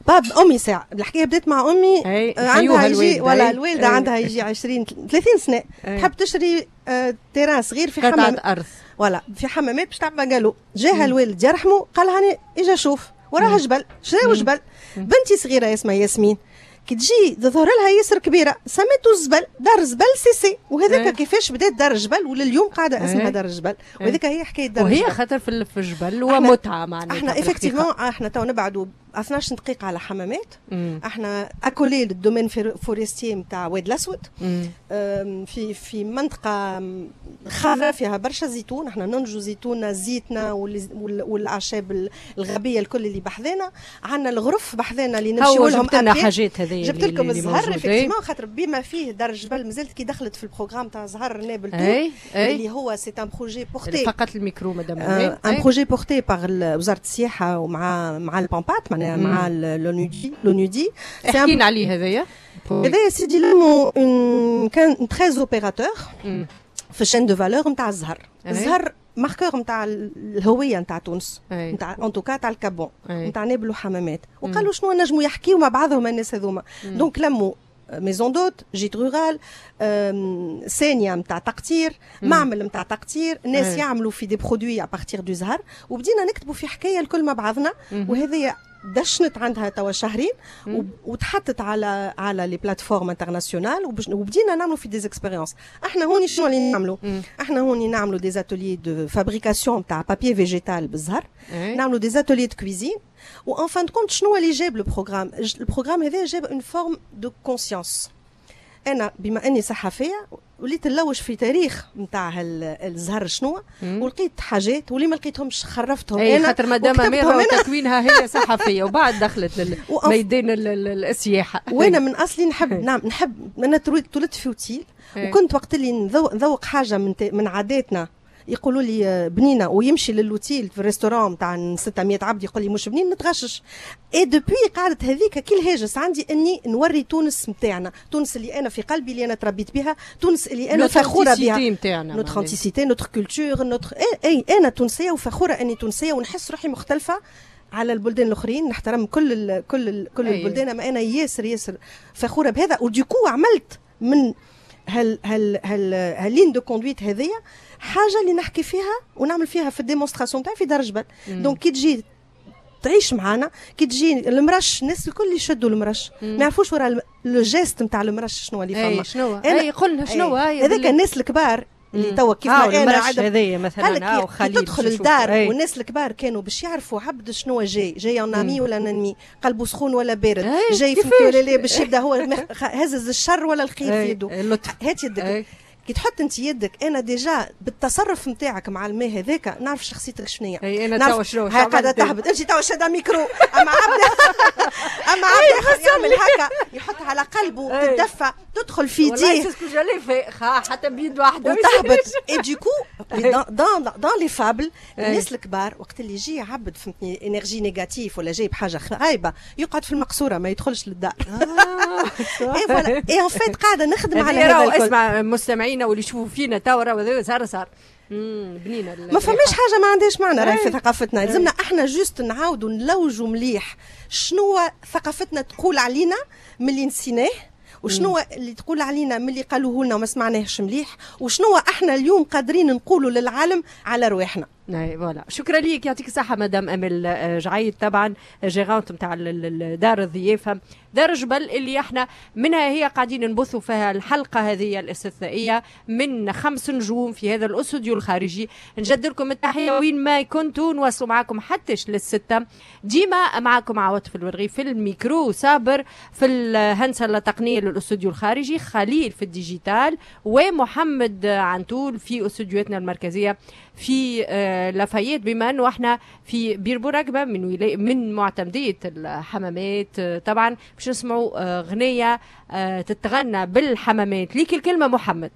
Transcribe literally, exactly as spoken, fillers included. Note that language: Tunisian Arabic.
باب امي ساعه، الحكاية بدات مع امي. أي. آه، عندها يجي ولا الوالدة عندها يجي عشرين ثلاثين سنه، تحب تشري آه، terrain صغير في حمام ارض. voilà، في حمامات باش تعمل bungalow. جاها الوالد يرحمه، قال هاني اجا شوف، وراها جبل، شراو جبل. بنتي صغيرة اسمها ياسمين، كي تجي تظهر لها ياسر كبيره، سميتو الزبل، دار زبل سي سي. وهذاك كيفاش بدات دار الجبل، ولليوم قاعدة اسمها دار الجبل، وهذيك هي حكاية دار وهي خاطر في الجبل ومتعه معناتها. احنا effectivement احنا تو نبعدوا اثناش دقيقة على حمامات. مم. احنا accolés لل domaine forestier نتاع واد الاسود، في في منطقة خضراء فيها برشا زيتون. احنا ننجو زيتوننا، زيتنا والاعشاب الغابيه الكل اللي بحذانا. عندنا الغرف بحذانا اللي نمشيو لهم. جبت لنا حاجات هذه. جبت لكم الزهر effectivement، خاطر بما فيه دار الجبل مازالت كي دخلت في ال programme تاع زهر نابل، اللي هو c'est un projet porté فقط ال micro madame. un projet porté par وزارة السياحة ومع مع ال PAMPAT، معناها مع l'ONUDI l'ONUDI احكينا عليه هذايا. هذايا سيدي لمو كان treize opérateurs في chaîne de valeur نتاع الزهر. الزهر marqueur نتاع الهوية نتاع تونس، نتاع en tout cas تاع ال Cap Bon، نتاع نابل وحمامات. وقالوا شنو نجموا يحكيوا مع بعضهم الناس هذوما؟ donc لموا maison d'hôtes، gîte rural، سانيا نتاع تقطير، معمل نتاع تقطير، ناس يعملوا في des produits à partir du زهر. وبدينا نكتبوا في حكاية الكل مع بعضنا. وهذه دشنت عندها توا شهرين وتحطت على على les plateformes internationales، وبدينا نعملوا في des expériences. احنا هوني شنو اللي نعملوا؟ احنا هوني نعملوا des ateliers de fabrication تاع papier végétal بالزهر، نعملوا des ateliers de cuisine. و en fin de compte شنو اللي جاب le programme؟ ال programme هذا جاب une forme de conscience. انا بما اني صحفية وليت نلوج في تاريخ نتاع الزهر شنو، ولقيت حاجات، واللي ما لقيتهمش خرفتهم. انا خاطر مادام اميره تكوينها هي صحفية وبعد دخلت للميدان السياحه. وانا من اصلي نحب، نعم نحب، انا تولدت في اوتيل، وكنت وقت اللي نذوق حاجة من من عاداتنا يقولوا لي بنينه، ويمشي للوتيل في ال restaurant تاع ستمية عبد يقول لي مش بنين، نتغشش. et depuis قعدت هذيك كي الهاجس عندي اني نوري تونس نتاعنا، تونس اللي انا في قلبي، اللي انا تربيت بها، تونس اللي انا فخورة بها، notre authenticité، notre culture، notre اي انا تونسية وفخوره اني تونسيه، ونحس روحي مختلفة على البلدان الاخرين. نحترم كل ال كل ال كل البلدان، اما انا ياسر ياسر فخورة بهذا. و du coup عملت من هل هل هل هال ligne de conduite هذيا حاجة اللي نحكي فيها ونعمل فيها في ال démonstration تاعي في دار جبل. donc كي تجي تعيش معانا، كي تجي المرش، الناس الكل يشدوا المرش، ما يعرفوش ورا le geste نتاع المرش شنو اللي فما. شنو؟ اي قلنا شنو؟ هذاك الناس الكبار اللي توا كيف ما انا عاد هذايا مثلا. خليل تدخل الدار، والناس الكبار كانوا باش يعرفوا عبد شنو جاي، جاي un ami ولا ennemi، قلبه سخون ولا بارد، جاي في ولا لا، باش يبدا هو هزز الشر ولا الخير في يده. هات يدك. كي تحط انت يدك، انا déjà بالتصرف نتاعك مع الماء هذاك نعرف شخصيتك شنو هي. اي انا توا شنو؟ هاي قاعدة تهبط، انت توا شاده ميكرو، اما عبد اما عبد يعمل هكا، يحط على قلبه، تدفى تدخل في يديه. حتى بيد واحده. وتهبط. et du coup dans dans les fables، الناس الكبار وقت اللي يجي عبد، فهمتني، énergie négative ولا جايب حاجة خايبه، يقعد في المقصورة ما يدخلش للدار. et voilà، et en fait قاعدة نخدم على هذا. اسمع، مستمعينا واللي يشوفوا فينا توا راهو صار صار بنينه. ما فماش حاجة ما عندهاش معنى راهي في ثقافتنا. لازمنا احنا juste نعاودوا نلوجوا مليح شنو ثقافتنا تقول علينا من اللي نسيناه، وشنو اللي تقول علينا من اللي قالوه لنا وما سمعناهش مليح، وشنو احنا اليوم قادرين نقولوا للعالم على رواحنا. اي voilà، شكرا ليك، يعطيك الصحة مدام امل آه، جعيد، طبعا gérante نتاع دار الضيافة دار جبل، اللي احنا منها هي قاعدين نبثوا فيها الحلقة هذه الاستثنائية من خمس نجوم في هذا الاستوديو الخارجي. نجدد لكم التحية وين ما كنتوا، نواصلوا معكم حتى للستة. ديما معكم عواطف الورغي في الميكرو، صابر في الهندسة التقنية للاستوديو الخارجي، خليل في ال digital، ومحمد عنتول في استوديوهاتنا المركزية في آه، لافايت. بما انه احنا في بير بورقبه من ولاية من معتمديه الحمامات، آه، طبعا باش نسمعوا آه، غنية تتغنى بالحمامات. ليك الكلمة محمد.